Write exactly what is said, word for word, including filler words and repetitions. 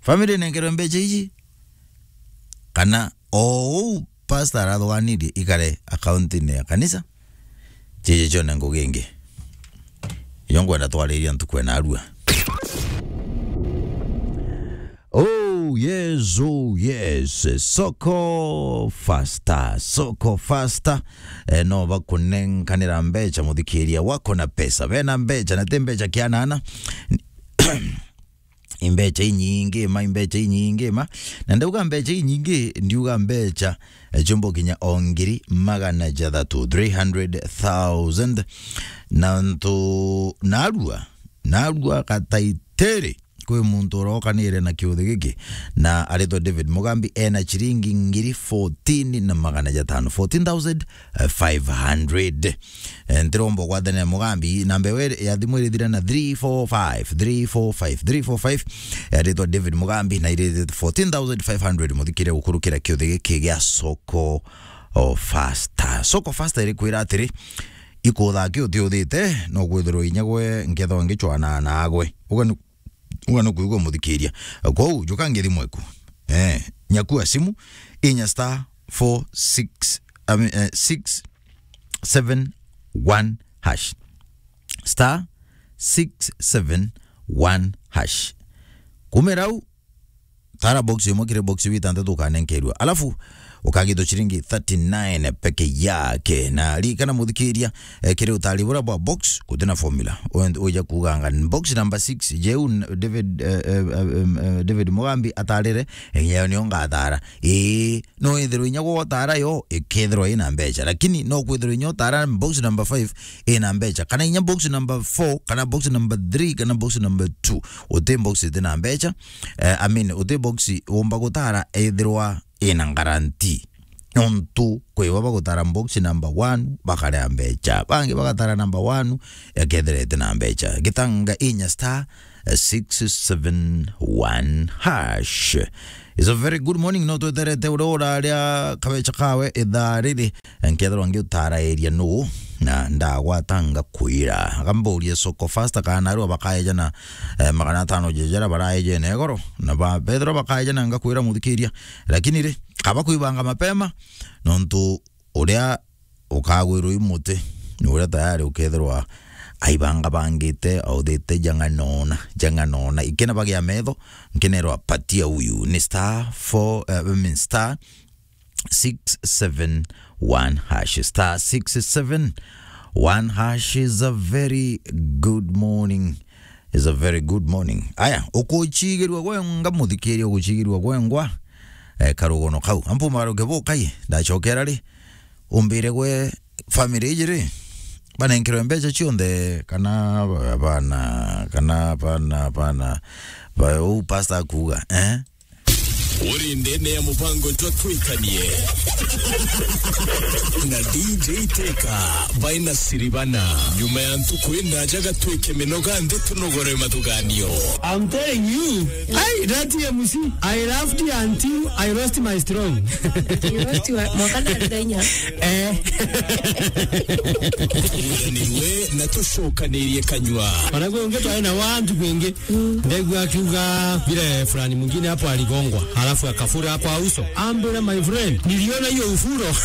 Family nenkerwe mbecha iji, kana o uu pastor arathuganirie ikare account-ini ya kanisa, ciji cione ngugi ingi. Iyo nkwenda twariria ntuku ena arua. Oh, yes, oh, yes. Soko faster, soko faster. Eh, no bakunenkanira mbecha, muthikiria wako na pesa. Bena mbecha, na ti mbecha kianana. Imbecha inyingi ma, imbecha inyingi ma. Na ndauga mbecha inyingi, ndiuga mbecha, eh, ciumba kinya o ngiri magana jathatu, three hundred thousand. Na ntu, narua, narua gataitiri. Kwi muntu urokanire na kiuthi giki, na aritwa David Mugambi, ena ciringi ngiri fourteen na magana jatano, fourteen thousand five hundred. Eh, ntiromba ugwathane na Mugambi, namba ewe ya thimu irithira na three four five, three four five, three four five. Aritwa David Mugambi, na irithira fourteen thousand five hundred. Muthikire gukurukira kiuthi giki gia Soko o Faster. Soko Faster irikwira atiri, ikutha ki utiuthite, no kwithirwa inya gwe nkethwa ngicwana nagwe. Uga ni Uga nukwigua muthikiria. Kwou, juka ngithi mweku. Eh, nyakua simu, inya star four six, I mean, eh, six seven one hash. Star six seven one hash. Kumira u, tara box imwe kiri box bitantatu ukanenkerua. Alafu, ukagitwa ciringi thirty-nine peke yake. Na ririkana muthikiria, eh, kiri utari bura bwa box, gutina formula. Wen-, uja kuganga box number six, jeu n-, David, eh, eh, eh, em, eh, David Mugambi atarire, eh, yo niyo ngatara. Ii, no ithirwe inya gwe utara yo, ikethirwa ina mbecha. Lakini no kwithirwa inya utara box number five ina mbecha. Kana inya box number four, kana box number three, kana box number two. Uti box itina mbecha. Eh, I mean, uti box umba gutara ethirwa ina guarantee. Nontu kwi bo bagutara box number one, bakarea mbecha. Bangi bagatara number one, ekethira itina mbecha. Gitanga inya star six seven one hash. It's a very good morning. No tweterete uria uraria kabecha kawe ithaa riri. Nkethirwa ngiutarairia nuu, na ndagwata ngakwira. Akamburia Soko Faster kana narua bakaejana, eh, magana atano jeja jaria baraejene igoro. Na ba-, bethirwa bakaejana ngakwira muthikiria. Lakini ri, kaba kwibanga mapema, nontu uria ukagwirwa i muti, ni uria tayari ukethirwa aibangabangite, authite jang'anona, jang'anona. Ikina bagia metho, nkinerwa patia uyu. Ni star four, eh, I mean, star six seven one hash. Star six seven one hash is a very good morning. Is a very good morning. Aya, ukuchigirwa gwenga, muthikiria, ukuchigirwa gwengwa, eh, karugono kau. Ampu maruke bukai, ndachokera ri, umbire gwe family iji ri, banenkerwe mbecha cionthe, kana bana, kana bana, bana, ba-, u pastor akuga, eh? Uri ndene ya mubango jwa Twikanie na D J Teka baina Siribana. Nyuma ya ntuku indaja gatwike minoga nthi tunogore mathuganio. I'm telling you, hey, that M C, I laughed until I lost my strong. You lost your, mwaka ndari ndainya. Eh. Turanirwe na tucokanirie kanyua. Ona gwe ungi twari na wantu kwingi. Ndegua akiuga vile fulani mwingine hapo aligongwa, halafu akafura kwa uso. Ambira, my friend, niliona hiyo ufuro.